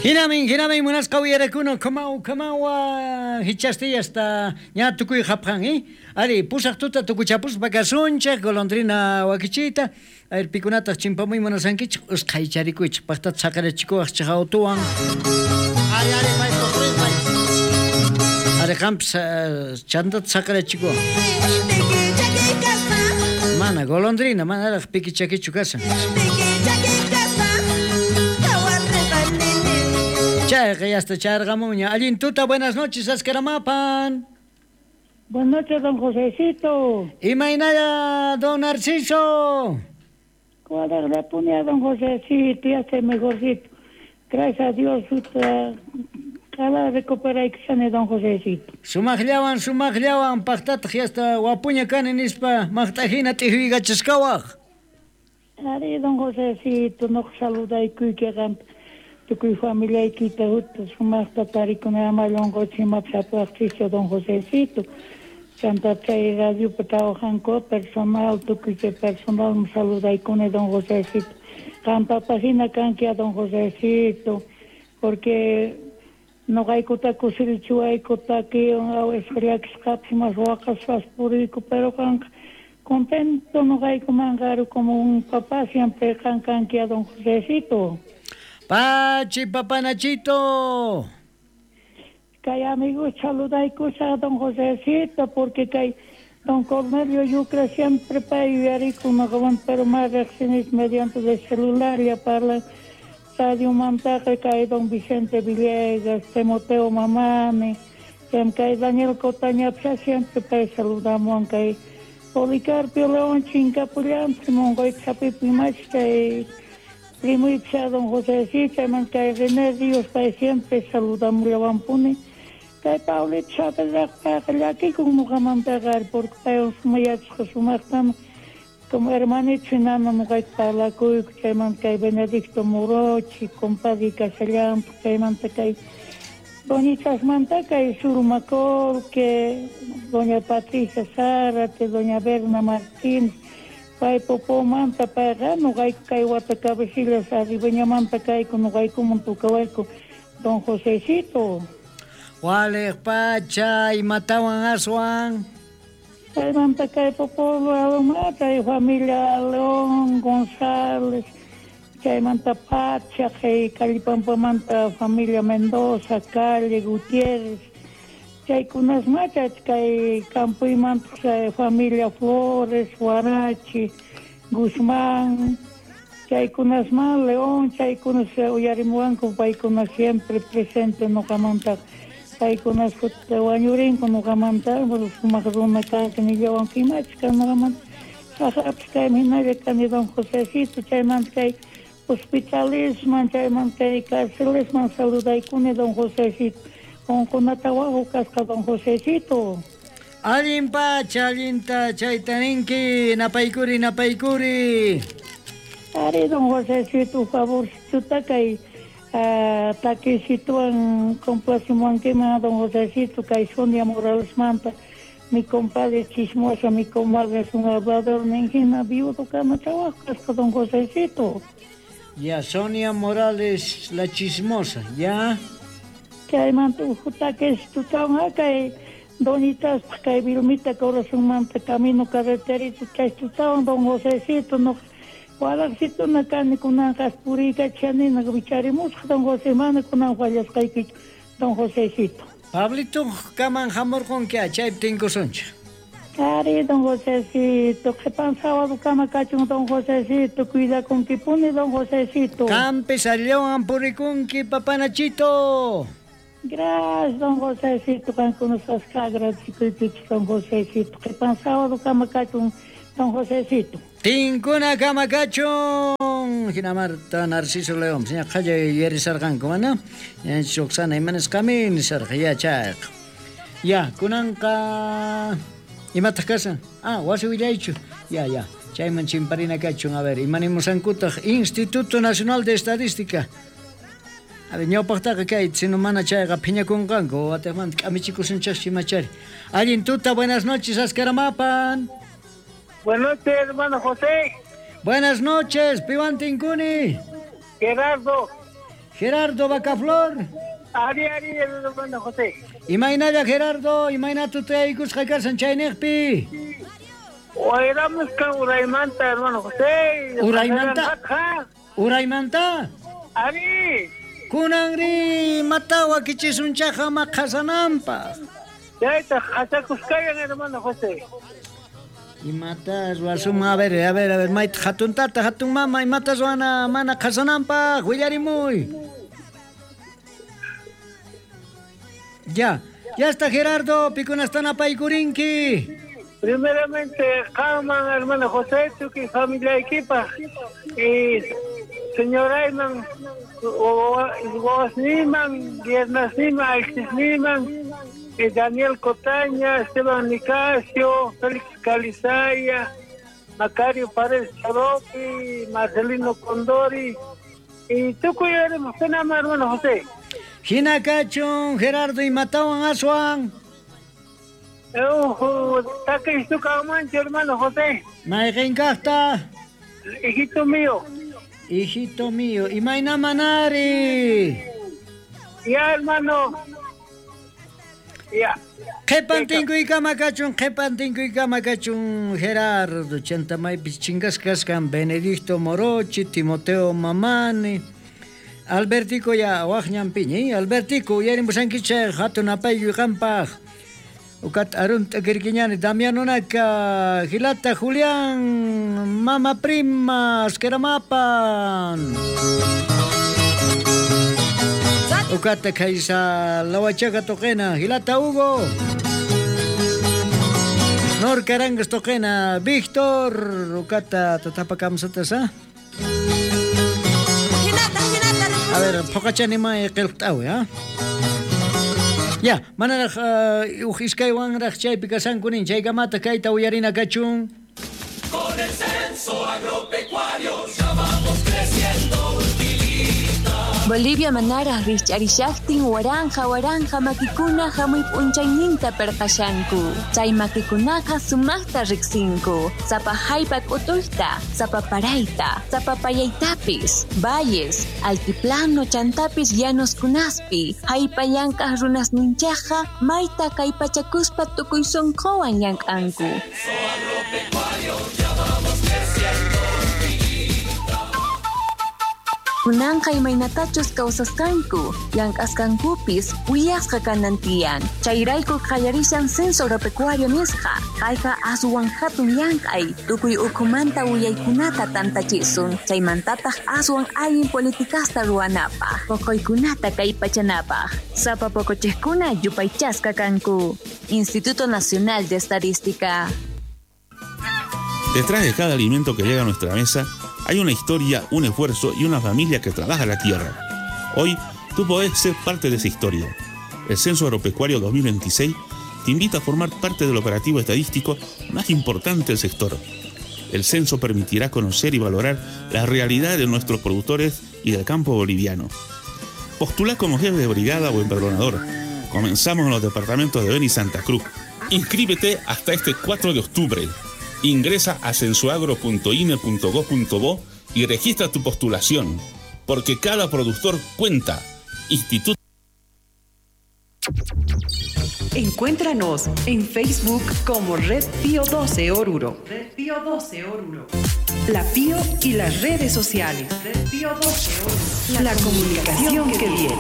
Hinamin, hinamin munasqa uyarakuna kamaw kamawa hichastiyasta ña tukuy hapjan, eh? Ari, pusaq tuta tukuchapuspa kasunchik, golondrina wakichiyta. Ayr pikunataq chimpamuy munasankichik, usqhaycharikuychik, paqtata saqirachikuwaqchik autuwan. Ari, ari, pay, pay. Ari, qampis chantata saqirachikuwaq. Mana, golondrina, manaraq piki chakichu kashan. Chayqa yasta charqamunña. Allin tuta, buenas noches, Ascaramapan. Buenas noches, don Josecito. Imaynalla, don Narciso. Cuadra don Josecito, ya estoy mejorcito. Gracias a Dios, cada recuperar don Josecito. Sumaqllawan, sumaqllawan, paqtataq yasta wapuña kani nispa, maqt'ajina t'ijuykachashkawaq. Ari, don Josecito, no saludaykuyki qamta. Tukuy familiaykita sumaqta tarikuna amallonqochik imapis don Josecito. Chanta chay radiopi trabajanku personal, tukuy chay personal saludaykuni don Josecito. Qampapaq hina kanki a don Josecito, porque noqaykuta kusirichiwayku takiwan llakisqapis mas waqaspas puriyku, pero qanqa contento noqaykumanqa como un papá siempre qan kanki a don Josecito. Pachi, papanachito. Kay amigos saludaykusaq don Josecito, porque kay don Cornelio Yucra siempre pay yuyarikun noqawan, pero más riqsinis mediante de celular ya parlan radio mantaqa kay don Vicente Villegas, Timoteo Mamani, kay Daniel Cotañapcha siempre pay saludamuwan kay Policarpio León chinkapullanpi munqoyta hapipi mach kay primuypis don Josecito, chayman kay René Ríos pay siempre saludamullawanpuni. Kay Paulito Chávez payqa llakikun ñuqamantaqa porque paywan sumayachasqa sumaqtam como hermanito hinana ñuqayku parlakuyku, chaymanta kay Benedicto Morochi, compadre kashallanpaq, chaymanta kay doñitasmanta kay Surma Colque, doña Patricia Zárate, doña Berna Martínez, pay Popomanta payqa ñuqayku kay wata cabecillas arribeñamanta kayku ñuqaykuman tukawayku don Josecito. Waliq pacha, imatawan aswan. Chaymanta kay Popolo chay familia León González, chaymanta Pacha, kay Callipampamanta familia Mendoza, Calle Gutiérrez, chaykunasma kay Campuymanta familia Flores, Huarachi, Guzmán, chaykunasma León, chaykunas uyarimuwanku paykuna siempre presente ñuqamanta. Paykunas wañurinku ñuqamanta, sumaq runa kanki nillawanku imachus kan ñuqamanta. Saqapis kaymi hinalla kani don Josecito, chaymanta kay hospitalisman, chaymanta kay carcelesman saludaykuni don Josecito. Unqunata waqu kasqa don Josecito. Allin pacha, allinta chayta ninki, napaykuri, napaykuri. Ari don Josecito, favorcito kay takisituan complacimuankiman don Josecito, kay Sonia Morales manta, mi compadre chismosa, mi comadre es un hablador, ninjina viudo kama trabajo kasqa don Josecito. Ya, Sonia Morales, la chismosa, ya. Chaymanta uhu takisitutawan kay doñitaspa kay Vilmita corazonmanta camino carreterito chaytutawan don Josecito no. Walaqsituna kani kunanqa puriykachanina wicharimusqa don José, mana kunan fallasqaykichu don Josecito. Pablito kaman hamurqunki chaypi tinkusunchik. Ari don Josecito, qhipan sábado kama kachun don Josecito, cuidakunkipuni don Josecito. Qampis alliwan purikunki papanachito. Gracias don Josecito, qankunasqa agradecikuykichik don Josecito. Qhipan sábado kama kachun don Josecito. Tinkuna kamakachun. Hina Marta Narciso León, señor qhalla yuyarisarqanku mana? Roxana imanasqami nisarqa ya chayqa. Ya, kunanqa imataq kashan? Ah, wasi willaychu. Ya, ya. Chayman chimparina kachun. A ver, imanimusankutaq Instituto Nacional de Estadística. A ver, ñawpaqtaqa kay sino mana chayqa phiñakunqanku, atiqmanta k'amichikusunchaqchu imachari. Allin tuta, buenas noches, Ascaramapan. Buenas noches, hermano José. Buenas noches, piwan tinkuni. Gerardo. Gerardo Bacaflor. Ari, ari, hermano José. Imaynalla Gerardo, imayna tutayaykusqa karsan chayniqpi. Wayramusqa uraymanta, hermano José. Uraymanta? Uraymanta? Ari. Kunanri mata wakichisunchaqa maqhasananpaq. Chayta qhasakuskayan, hermano José. Imata ruwasun, a ver, a ver, a ver, mayta hatun tata, hatun mama, imata ruwana mana qhasananpaq, willarimuy. Ya, ya está Gerardo, pikunastan apaykurinki. Primeramente, qamman, hermano José, tukuy familiaykipaq y señorayman, wawasniman, viernasniman, alchisniman, y Daniel Cotaña, Esteban Nicasio, Félix Calizaya, Macario Paredes Choropi, Marcelino Condori, y tukuy hermano José. Hina kachun, Gerardo, imatawan aswan. Mancho, hermano José. Mayqin kaqta. Hijito mío. Hijito mío. Imayna manari. Ya, hermano. Ya. Qhipan tinkuykama kachun, qhipan tinkuykama kachun, Gerardo. Chanta maypis chingasqa kasqan Benedicto Morochi, Timoteo Mamani. Albertico ya waqñanpiña, Albertico uyarinpusankichik hatun apaykuy qampaq. Ukat arun t'akirkiñani Damiano Naka, Gilata Julián, Mama Prima, Askeramapan. Ukata Kaisa Lawachaga toqena, Gilata Hugo. Nor Carangas toqena, Víctor, ukata tatapakamsatasa. A ver, phoqachani may qillqt'awi, ha? Ya, manaraq uj iskaywanraq chaypi kasankunin, chaykamata kayta uyarina kachun. Con el censo agropecuario ya vamos creciendo. Bolivia manaraq rikch'arishaqtin waranja waranja makikuna hamuy p'unchayninta perqashanku. Chay makikunaqa sumaqta riqsinku. Sapa haypa k'utuyta, sapa parayta, sapa payaytapis, valles, altiplano chantapis llanoskunaspi. Haypa llank'aq runasninchaqqa mayta kallpachakuspa tukuy sunquwan llank'anku. Kunanqa imaynatachus kawsasqanku, llank'asqankupis willasqa kanan tiyan. Chayrayku qallarishan censo agropecuario nisqa. Kayqa aswan hatun llank'ay, tukuy ukhumanta willaykunata tantachisun. Chaymantataq aswan allin politikasta ruwanapaq, poqoykunata kallpachanapaq. Sapa poqochiqkuna yupaychasqa kanku. Instituto Nacional de Estadística. Detrás de cada alimento que llega a nuestra mesa hay una historia, un esfuerzo y una familia que trabaja la tierra. Hoy, tú podés ser parte de esa historia. El Censo Agropecuario 2026 te invita a formar parte del operativo estadístico más importante del sector. El censo permitirá conocer y valorar la realidad de nuestros productores y del campo boliviano. Postula como jefe de brigada o empadronador. Comenzamos en los departamentos de Beni y Santa Cruz. Inscríbete hasta este 4 de octubre. Ingresa a censoagro.ine.gov.bo y registra tu postulación, porque cada productor cuenta. Instituto. Encuéntranos en Facebook como Red Pío 12 Oruro. Red Pío 12 Oruro. La Pío y las redes sociales. Red Pío 12 Oruro. La comunicación que viene.